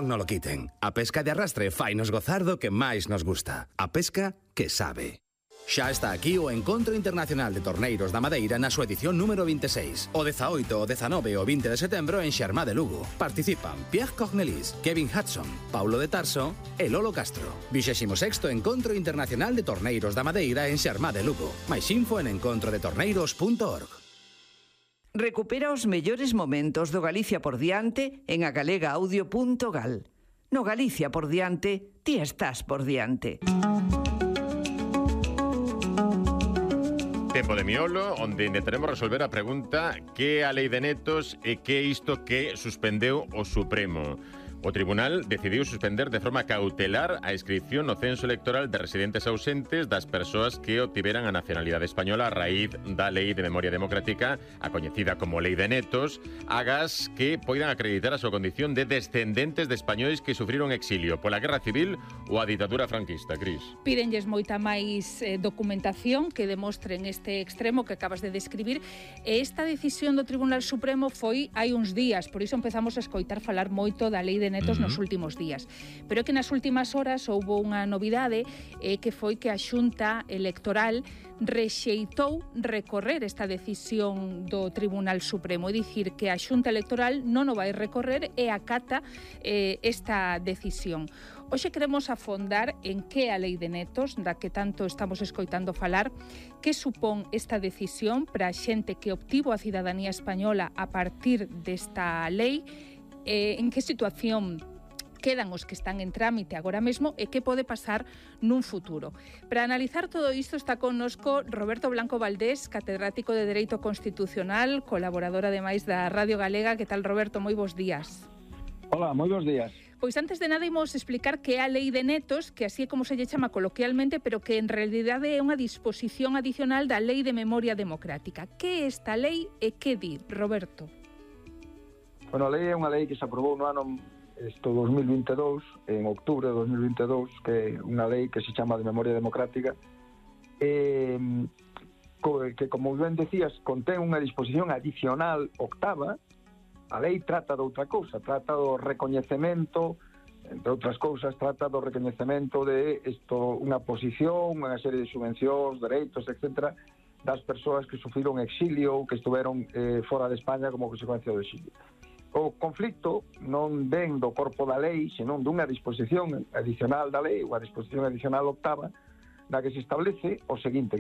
non lo quiten. A pesca de arrastre fainos gozar do que máis nos gusta. A pesca que sabe. Xa está aquí o Encontro Internacional de Torneiros da Madeira na súa edición número 26. O 18, o 19 e o 20 de setembro en Xermá de Lugo. Participan Pierre Cornelis, Kevin Hudson, Paulo de Tarso e Lolo Castro. 26º Encontro Internacional de Torneiros da Madeira en Xermá de Lugo. Mais info en encontrodetorneiros.org. Recupera os mellores momentos do Galicia por diante en agalegaudio.gal. No Galicia por diante, ti estás por diante. Tempo de miolo, onde intentaremos resolver a pregunta que a lei de netos e que isto que suspendeu o Supremo. O Tribunal decidiu suspender de forma cautelar a inscripción no censo electoral de residentes ausentes das persoas que obtiveran a nacionalidade española a raíz da Lei de Memoria Democrática, a coñecida como Lei de Netos, agas que poidan acreditar a súa condición de descendentes de españois que sufriron exilio pola Guerra Civil ou a ditadura franquista. Cris. Pídenlles moita máis documentación que demostren este extremo que acabas de describir, e esta decisión do Tribunal Supremo foi hai uns días, por iso empezamos a escoitar falar moito da Lei de Netos nos últimos días. Pero é que nas últimas horas houbo unha novidade que foi que a Xunta Electoral rexeitou recorrer esta decisión do Tribunal Supremo, é dicir, que a Xunta Electoral non o vai recorrer e acata esta decisión. Hoxe queremos afondar en que a Lei de Netos, da que tanto estamos escoitando falar, que supón esta decisión para a xente que obtivo a cidadanía española a partir desta lei, en que situación quedan os que están en trámite agora mesmo e que pode pasar nun futuro. Para analizar todo isto está connosco Roberto Blanco Valdés, catedrático de Dereito Constitucional, colaborador ademais da Radio Galega. Que tal, Roberto? Moi bons días. Hola, moi bons días. Pois antes de nada imos explicar que é a Lei de Netos, que así é como se lle chama coloquialmente, pero que en realidade é unha disposición adicional da Lei de Memoria Democrática. Que é esta lei e que di, Roberto? Bueno, a lei é unha lei que se aprobou no ano 2022, en outubro de 2022, que é unha lei que se chama de Memoria Democrática, que, como ben decías, contén unha disposición adicional octava. A lei trata de outra cousa, trata do recoñecemento, entre outras cousas, trata do recoñecemento de unha posición, unha serie de subvencións, dereitos, etc., das persoas que sufriron exilio ou que estuveron fora de España como consecuencia do exilio. O conflicto non ven do corpo da lei, senón dunha disposición adicional da lei, unha disposición adicional octava, na que se establece o seguinte,